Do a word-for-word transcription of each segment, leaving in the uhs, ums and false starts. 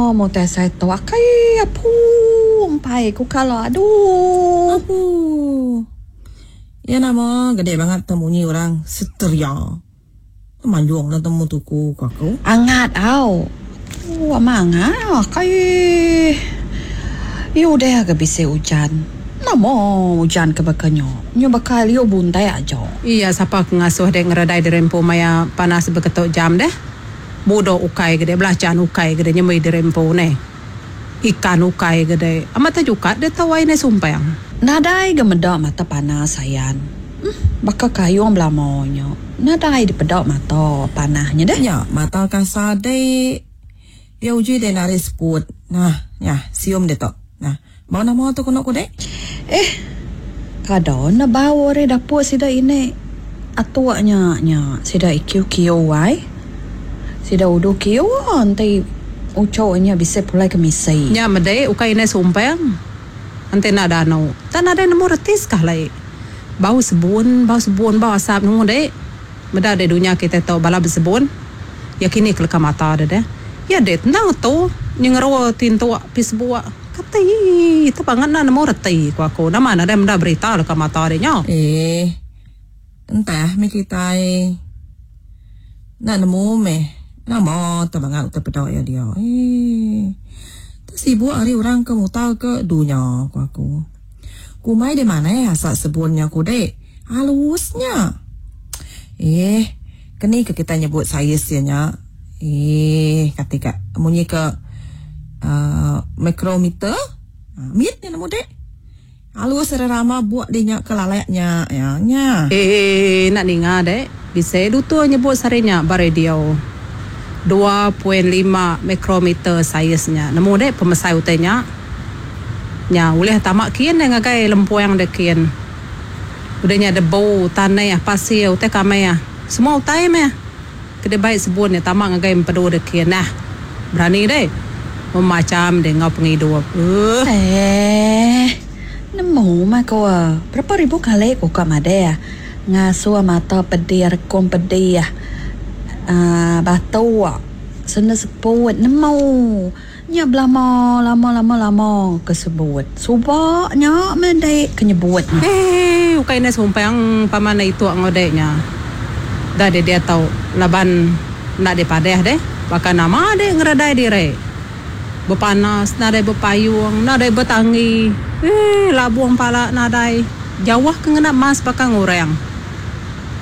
Nama mutai saya tu akai apu empai ku kala aduh. Apu. Ya nama gede banget temunyi orang seteria. Manjung na temu tuku ku aku. Angat au. Oh, amangat akai. Yu udah ke bisi ujan. Nama ujan ke bakanyo. Nyu bakal yu buntai aja. Iya sapa ke ngasuh dek ngeredai dirempu maya panas beketuk jam deh. Bodoh ukai gede belacan ukai gede nyemui dirempu ne. Ikan ukai gede. Amat terjukat dia tahu ai ne sumpang. Nadai gemeda mata panas sayan. Hmm, baka kayung belamonyo. Nadai dipedak mata panahnya deh. Ya, mata kasar dek. Dia uji dek nari seput. Nah, ya, sium dek tok. Nah, bau nama tu kono ku dek? Eh, kada na bau re dapur sida ini. Atuaknya nya sida ikiu kiu ai. Sida udu kiu nanti ucoknya bisa pulai ke misi. Nya mede ukai ini sumpang. Nanti nak dano. Tak ada nemu retis kah lai. Bau sebun, bau sebun, bau asap nemu dek. Meda dek dunia kita tahu bala bersebun. Ya kini keleka mata deh deh. Ya dek tentang tu nyengeru tintu pis buak. Kata itu banget nak nemu reti ku aku. Nama ada meda berita leka mata dek nya. Eh, entah mi kita nak nemu meh. Nama tu bangat utai pedak ya dia. Eh, tu sibuk hari orang ke mutar ke dunia ku aku. Kumai di mana ya asap sebunnya ku dek. Halusnya. Eh, keni ke kita nyebut saiz ya nya. Eh, ketika munyi ke uh, mikrometer. Uh, mit ni nemu dek. Halus rama buat dia nya ke laleknya ya nya. Eh, nak ninga dek. Bisa dutu nyebut sarinya ba radio. dua titik lima mikrometer saiznya. Nemu dek pemesai utainya. Nya ulih tamak kian dengan ngagai lempuang dek kian. Udahnya debu, tanah, pasir, utai kamai ah. Semua utai meh. Kede baik sebun ya tamak ngagai empedu dek kian. Nah, berani dek. Memacam dek ngau penghidup. Uh. Eh, nemu mah kau ah. Berapa ribu kali kau kat made ah. Ngasuh mata pedih, rekom pedih ah. Ah, batu ah. Sena seput nemu. Nya belama lama lama lama kesebut. Subaknya mendek kenyebut. Eh, ukai ne sumpang paman itu ngodeknya. Dah dia, dia tahu laban nak dipadeh deh. Bahkan nama dek ngeredai dire. Berpanas, nadai berpayung, nadai bertangi. Eh, labuang pala nadai. Jauh ke ngena mas bakal ngurang.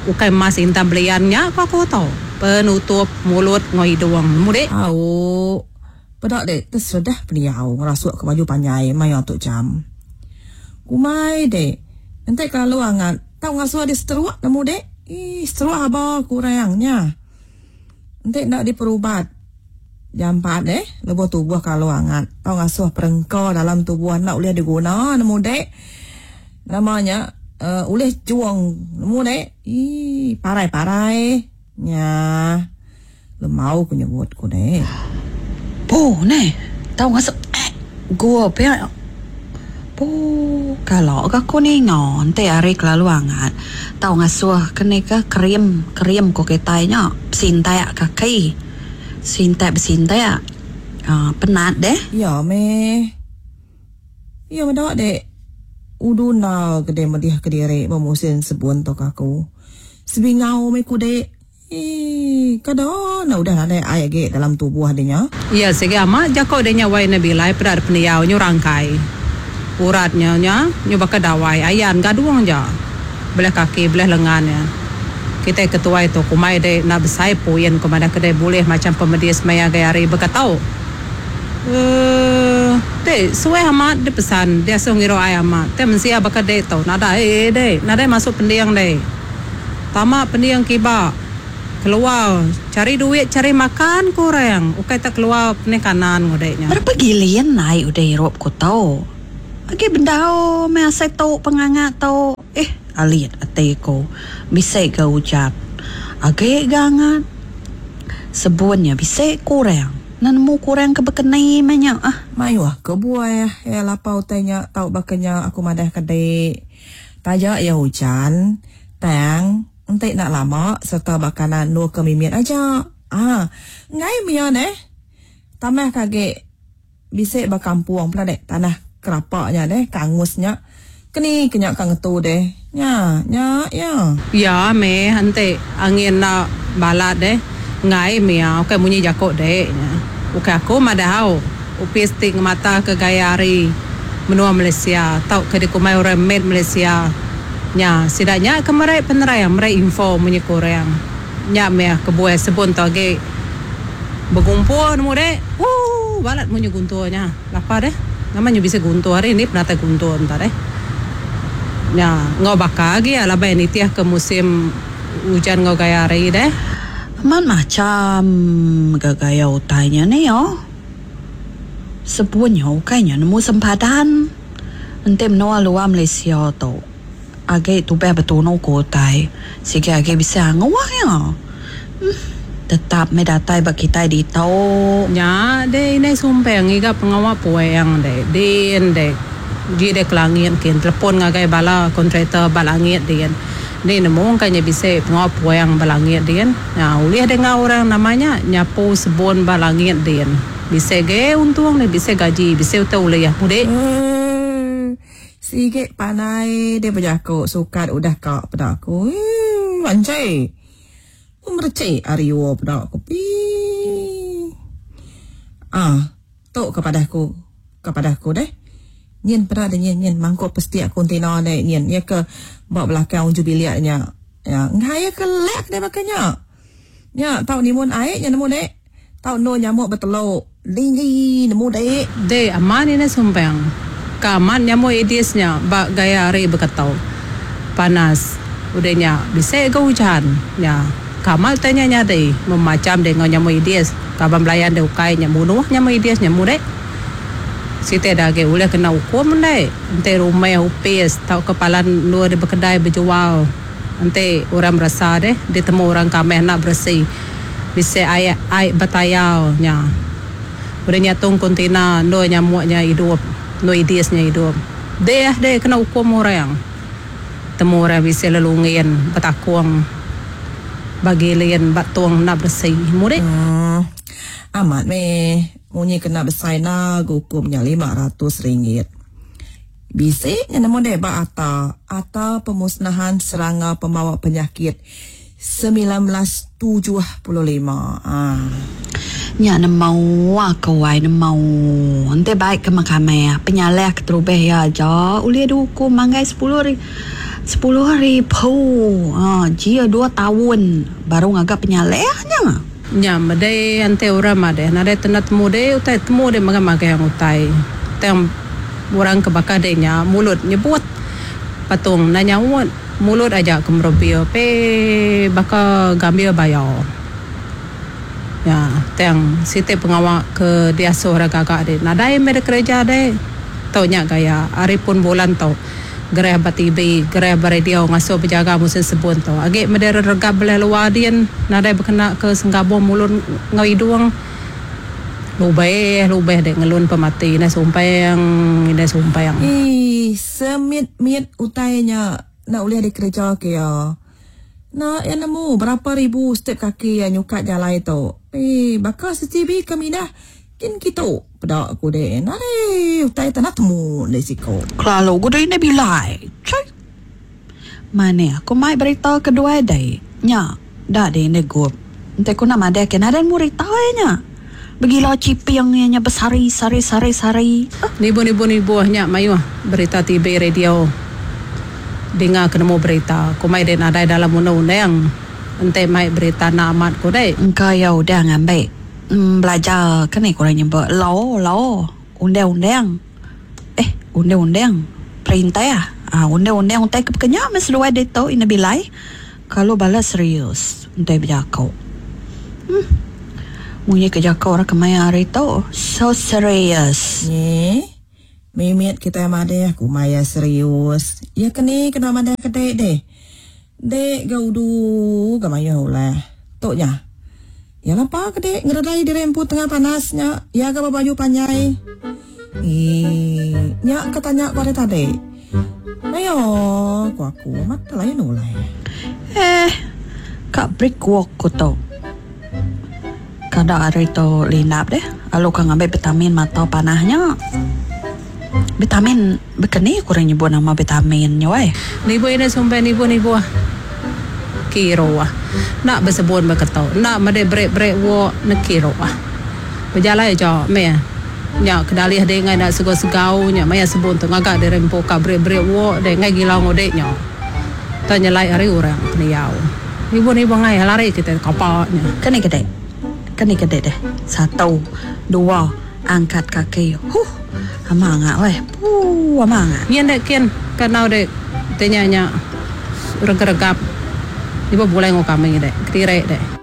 Ukai mas intan beliannya kau aku tahu. Penutup mulut ngoi doang. Mudik. Au. Pedak dek tersedah beliau ngerasuk ke baju panjai maya tok jam. Kumai dek. Entek kalau angat tau ngasuh dia seteruak nemu dek. Ih, seteruak aba kurangnya. Entek nak diperubat. Jam empat deh, lebuh tubuh kalau angat. Tau ngasuh perengkau dalam tubuh nak boleh diguna nemu dek. Namanya uh, ulih juang nemu dek. Ih, parai-parai. Nya, lemau ku nyebut ku dek. Po, ne, tau ngasuh eh, gua pia. Po, kalau aku ni ngon te hari kelalu angat. Tau ngasuh kene ke krim, krim ku kitainya, sintai kaki. Sintai bersintai ah, penat deh. Ya meh. Ya medak dek. Uduna gede medih kediri memusin sebun tok aku. Sebingau me ku dek. Eh, kada na udah nadai air ge dalam tubuh adanya. Ya, segi amat jako denya wai nabi lai pada peniau nyu rangkai. Uratnya nya nyu baka dawai ayan gaduang ja. Belah kaki, belah lengannya. Kita ketua itu kumai de nak besai puyen kumada kedai boleh macam pemedis maya gaya hari bekatau. Eh, de suai amat de pesan dia suruh ngiro ai amat. Te mensia baka de tau nadai de, nadai masuk pendiang de. Tamak pendiang kiba. Keluar cari duit cari makan kurang. Ukai tak keluar ni kanan ngodeknya. Berapa gilian naik udah Europe ku tau. Agi bendau me asai tau pengangat tau. Eh, alit ate ko. Bisa ke ucap. Agi gangat. Sebunnya bisa kurang. Nan mu kurang ke bekenai menya ah. Mayuh ke buai ya lapau tanya tau bakanya aku madah kedai. Tajak ya hujan, tang entek nak lama serta bakalan nu ke mimit aja. Ah, ngai mia neh. Tamah kage Bisik ba kampung pula dek tanah kerapaknya deh, kangusnya. Keni kenyak kang ngetu deh. Nya, nya, ya. Ya me ante angin nak balat deh. Ngai mia, okey munyi jakok deh. Nya. Okey aku madahau. Upis ti ngemata ke gaya hari menua Malaysia tau ke dikumai orang Med Malaysia. Nya, sidaknya ke merai penerang, merai info munyi kurang. Nya me kebuai sebun tau age bergumpul nemu dek. Uh, balat munyi gunturnya. Lapa deh. Namanya bisa guntur hari ni penatai guntur entar deh. Nya, ngau bakar lagi ya labai nitiah ke musim hujan ngau gaya hari deh. Man macam gaya utainya ni yo. Sepunya ukainya nemu sempadan. Ente menua luar Malaysia tu. Age tubeh betunu ku utai. Sige age bisa nguah ya. Hmm. Tetap me datai bak kita di tau. Nya de ini sumpeng iga pengawak pueng de. Din de. Ji de kelangit kin telepon ngagai bala kontraktor balangit din. Ni nemu kanya bisa pengawak pueng balangit din. Nya ulih dengar orang namanya nyapu sebun balangit din. Bisa ge untung ni bisa gaji bisa utai ulih mudik. Hmm. Sige panai dia berjakuk sukat udah kak pada aku. Hmm, anjay. Mercik ariwo pada aku. Pi. Ah, tok kepada aku. Kepada aku deh. Nyen pada ada nyen nyen mangkuk pesti aku tina deh nyen. Ya ke bawa belakang unju biliaknya. Ya, ngai ke lek deh makanya. Ya, tau ni mun air nya nemu deh. Tau no nyamuk bertelur. Linggi nemu deh. Deh aman ini sumpeng. Kaman nyamuk edisnya bak gaya hari berketau. Panas. Udahnya bisa ke hujan. Ya. Kamal tanya nyadi memacam dengan nyamuk idis. Kaban belayan de ukai nyamuk nyamuk idis nyamuk dek. Siti dah ge ulih kena hukum dek. Ente rumah upis tau kepalan luar di berkedai berjual. Ente orang berasa deh ditemu orang kameh nak bersih. Bisa air air bertayau nya. Udah nyatung kontainer no nyamuknya hidup, no idisnya hidup. Deh deh kena hukum orang. Temu orang bisa lelungin bertakung. Bagi lian batuang nak bersih murid. Hmm, amat me munyi kena besai na hukumnya lima ratus ringgit. Bisik yang nemu deh ba ata ata pemusnahan serangga pembawa penyakit sembilan belas tujuh puluh lima. Ah. Nya nemu aku ai nemu. Ente baik ke makame penyalah keterubeh ya aja ulia dihukum manggai sepuluh ri sepuluh ribu. Ah, jia dua tahun baru ngagak penyalehnya. Nya medai ante orang made nade tenat temu de utai temu de maga-maga yang utai. Tang orang kebakar de nya mulut nyebut patung nanya uat mulut aja kemerobio pe baka gambir bayar. Ya, tang site pengawak ke diasuh orang gagak de nadai mere kerja de. Tau nya gaya hari pun bulan tau. Gerah ba T V, gerah ba radio ngasuh berjaga musim sebun tu. Agak merdeka regap belah luar dian, nadai berkena ke senggabung mulut ngau hidung. Lubeh, lubeh dek ngelun pemati, ina sumpeng, ina sumpeng. Ih, semit-mit utainya nak boleh dikerja ke ya. Nak yang nemu berapa ribu step kaki yang nyukat jalan itu. Eh, bakal C C B kami dah. Kin kitu pedak aku deh. Nare utai tanah temu le siko. Kalau aku deh ni bilai. Cai. Mana aku mai berita kedua deh. Nya, dah deh ni gup. Ente aku nak madai ke naren murita nya. Begila cipiang nya besari sari sari sari. Nibu nibu nibu nya mayu berita T V radio. Dengar kena mau berita. Aku mai deh nadai dalam undang-undang. Ente mai berita nak amat ku deh. Engkau ya udah ngambil. Hmm, belajar kan ni korang nyebut law law undang-undang eh undang-undang perintah ah undang-undang utai kepekenya mesti luar dia tahu ina bilai kalau bala serius untai berjakau hmm munyi kejakau orang kemaya hari tu so serious ni mimit kita madeh aku maya serius ya keni kena madeh kedek deh dek gaudu gamaya ulah toknya. Ya lapa kedek ngeredai dirempu tengah panasnya. Ya ke baju panjai. Ih, nyak ketanya kau tadi. Ayo, aku aku mata lain ulai. Eh, kak break walk ko to. Kada hari tu lindap deh. Lalu ka ngambil vitamin mata panahnya. Vitamin bekeni kurang nyebut nama vitamin nya weh. Nibu ini sumbai nibu nibu. Kiro ah. Nak bersebun berketo. Nak mede brek-brek wo nekiro ah. Berjalai aja me. Nya kedalih dia ngai nak segau-segau nya maya sebun tu ngagak dia rempo ka brek-brek wo de ngai gila ngodek nya. Tanya lai hari orang peniau. Ibu ni bangai lari kita kapaknya. Kena kedek. Kena kedek deh. Satu, dua, angkat kaki. Huh. Amang ah weh. Puh, amang ah. Nyen dek kin kanau dek tanya nya regap. Ibu boleh ngau kami dek. Ketirek dek.